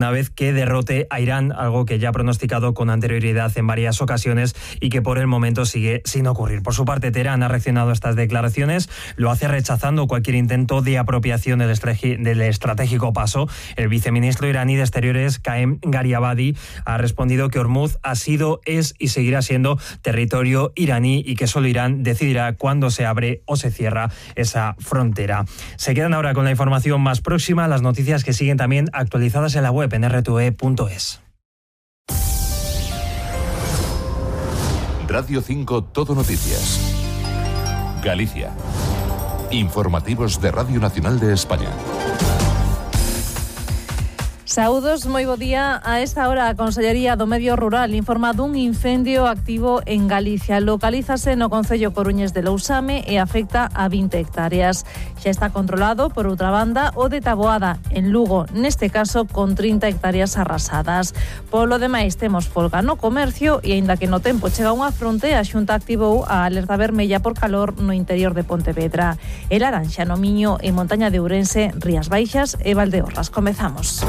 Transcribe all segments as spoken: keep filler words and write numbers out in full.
una vez que derrote a Irán, algo que ya ha pronosticado con anterioridad en varias ocasiones y que por el momento sigue sin ocurrir. Por su parte, Teherán ha reaccionado a estas declaraciones, lo hace rechazando cualquier intento de apropiación del, del estratégico paso. El viceministro iraní de Exteriores, Qaem Gariabadi, ha respondido que Hormuz ha sido, es y seguirá siendo territorio iraní y que solo Irán decidirá cuándo se abre o se cierra esa frontera. Se quedan ahora con la información más próxima, las noticias que siguen también actualizadas en la web en erre te ve punto es. Radio cinco Todo Noticias. Galicia. Informativos de Radio Nacional de España. Saúdos, moi bo día. A esta hora a Consellería do Medio Rural informa dun incendio activo en Galicia. Localízase no concello coruñés de Lousame e afecta a vinte hectáreas. Xa está controlado, por outra banda, o de Taboada, en Lugo, neste caso con trinta hectáreas arrasadas. Polo demais, temos folga no comercio e, aínda que no tempo chega unha fronte, a Xunta activou a alerta vermella por calor no interior de Pontevedra. El laranxa no Miño e Montaña de Ourense, Rías Baixas e Valdeorras. Comezamos.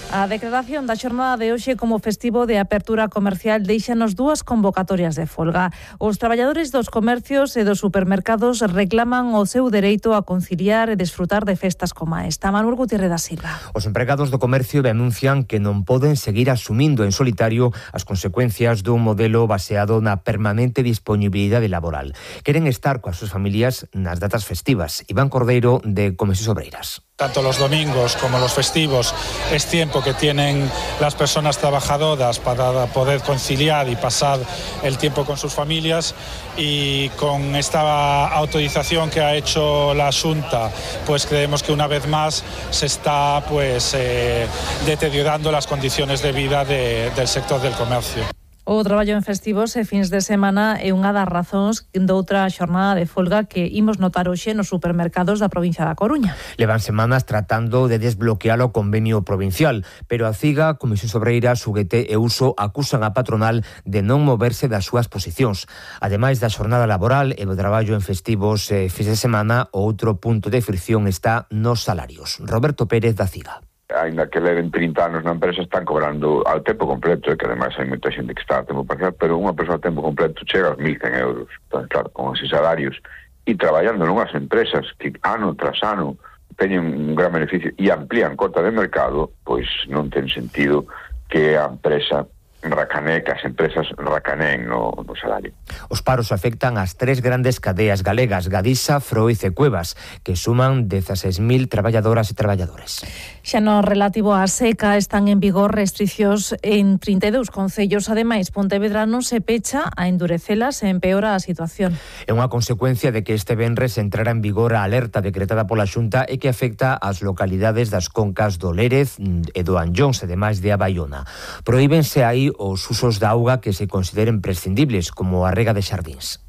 A declaración da xornada de hoxe como festivo de apertura comercial deixanos dúas convocatorias de folga. Os traballadores dos comercios e dos supermercados reclaman o seu dereito a conciliar e desfrutar de festas como esta. Manuel Gutiérrez da Silva. Os empregados do comercio denuncian que non poden seguir asumindo en solitario as consecuencias dun modelo baseado na permanente disponibilidade laboral. Queren estar coas súas familias nas datas festivas. Iván Cordeiro, de Comercios Obreiras. Tanto los domingos como los festivos es tiempo que tienen las personas trabajadoras para poder conciliar y pasar el tiempo con sus familias, y con esta autorización que ha hecho la Xunta, pues creemos que una vez más se está pues eh, deteriorando las condiciones de vida de, del sector del comercio. O traballo en festivos e fins de semana é unha das razóns doutra xornada de folga que imos notar hoxe nos supermercados da provincia da Coruña. Levan semanas tratando de desbloquear o convenio provincial, pero a CIGA, Comisión Obreiras, U G T e Uso acusan a patronal de non moverse das súas posicións. Ademais da xornada laboral e do traballo en festivos e fins de semana, o outro punto de fricción está nos salarios. Roberto Pérez, da CIGA. Ainda que leven trinta anos na empresa, están cobrando ao tempo completo, e que ademais hai moita xente que está a tempo parcial, pero unha persoa a tempo completo chega aos mil cen euros. Entón, claro, con esos salarios e traballando nunhas empresas que ano tras ano teñen un gran beneficio e amplían cota de mercado, pois non ten sentido que a empresa racanee, que as empresas racaneen no, no salario. Os paros afectan as tres grandes cadeas galegas, Gadisa, Froiz e Cuevas, que suman dezaseis mil traballadoras e traballadores. Xa no relativo á seca están en vigor restriccións en trinta e dous concellos. Ademais, Pontevedra non se pecha a endurecelas e empeora a situación. É unha consecuencia de que este venres entrara en vigor a alerta decretada pola Xunta e que afecta ás localidades das concas do Lérez e do Anllóns, ademais de a Baiona. Prohíbense aí os usos da auga que se consideren prescindibles, como a rega de xardíns.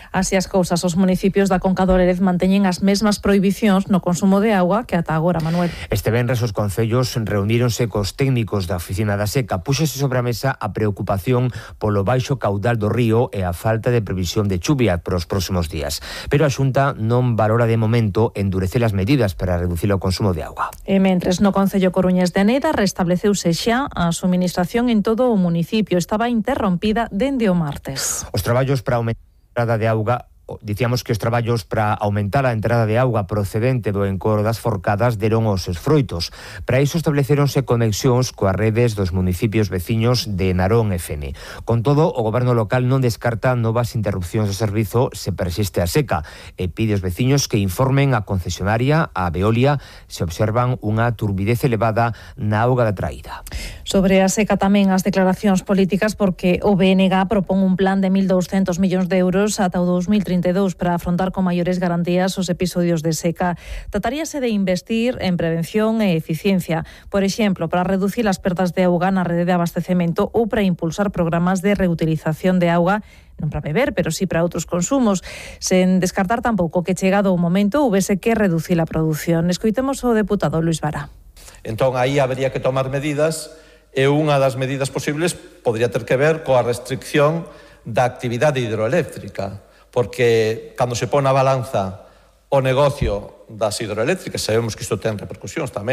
Así as cousas, os municipios da Conca do Lérez manteñen as mesmas prohibicións no consumo de auga que ata agora, Manuel. Este venres os concellos reuníronse cos técnicos da Oficina da Seca. Púxose sobre a mesa a preocupación polo baixo caudal do río e a falta de previsión de chuvia para os próximos días. Pero a Xunta non valora de momento endurecer as medidas para reducir o consumo de auga. E mentres no concello coruñés de Aneida restableceuse xa a suministración en todo o municipio. Estaba interrompida dende o martes. Os traballos para aumentar de auga, dicíamos que os traballos para aumentar a entrada de auga procedente do encoro das forcadas deron os seus froitos. Para iso estableceronse conexións coas redes dos municipios veciños de Narón e Fene. Con todo, o goberno local non descarta novas interrupcións do servizo se persiste a seca e pide aos veciños que informen a concesionaria, a Veolia, se observan unha turbidez elevada na auga da traída. Sobre a seca tamén as declaracións políticas, porque o B N G propón un plan de mil douscentos millóns de euros ata o dos mil trinta e dous para afrontar con maiores garantías os episodios de seca. Trataríase de investir en prevención e eficiencia, por exemplo, para reducir as perdas de auga na rede de abastecemento ou para impulsar programas de reutilización de auga, non para beber, pero sí para outros consumos, sen descartar tampouco que chegado o momento houvese que reducir a produción. Escoitemos o deputado Luis Vara. Entón, aí habería que tomar medidas, e unha das medidas posibles podría ter que ver coa restricción da actividade hidroeléctrica, porque cando se pon a balanza o negocio das hidroeléctricas, sabemos que isto ten repercusións tamén